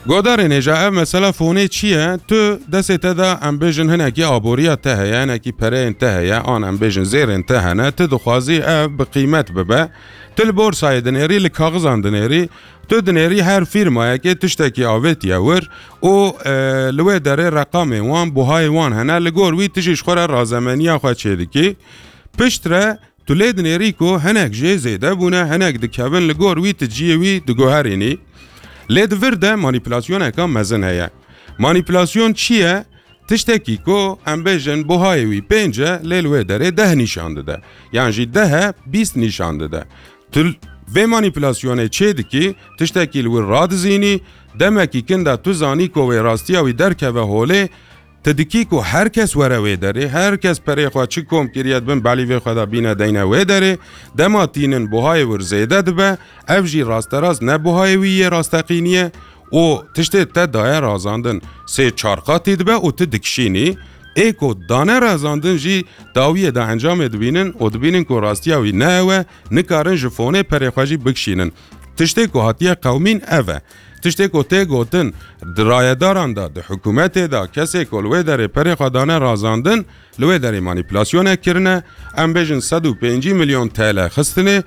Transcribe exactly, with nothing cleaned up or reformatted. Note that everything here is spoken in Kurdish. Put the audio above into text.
Godarên hêja, ev mesela fonê çi ye? Tu destê te de, em bêjin, hinekî aboriya te heye, hinekî pereyên te heye, an em bêjin zêrên te hene, tu dixwazî ev bi qîmet bibe. Tu li borsayê dinêrî, li kaxizan dinêrî, tu dinêrî her fîrmayekê tiştekî avêtiye wir û, e, li wê derê reqamên wan, buhayê wan hene, li gor wî tu jî ji xwe re razemeniya xwe çêdikî. Piştre tu lê dinêrî ku hinek jê zêde bûne, hinek dikevin, li gor wî tu ciyê wî diguherînî. Lê di vir de manîpulasyoneka mezin heye. Manîpulasyon çi ye? Tiştekî ku em bêjin buhayê wî pênc e, lê li wê derê deh nîşan dide. Yan jî deh e, bîst nîşan dide. Tu vê manîpulasyonê çê dikî, tiştekî li wir radizînî, demekî kin de tu zanî ku wê rastiya wî derkeve holê, tu dikî ku her kes were wê derê, her kes perê xwe çi kom kiriye dibin belîvê xwe de bîne deyne wê derê, dema tînin buhayê wir zêde dibe, ev jî rasterast ne buhayê wî yê rasteqînî ye û tiştê te daye razandin sê çar qatî dibe û tu dikişînî. Ê ku dane razandin jî dawiyê de encamê dibînin û dibînin ku rastiya wî ne ew e, nikarin ji fonê perê xwe jî bikişînin. Tiştê ku hatiye qewmîn ev e. Tiştê ku tê gotin, di rayedaran de, di hikûmetê de, kesê ku li wê derê perê xwe dane razandin, li wê derê manîpulasyonek kirine, em bêjin sed û pêncî milyon T L xistine,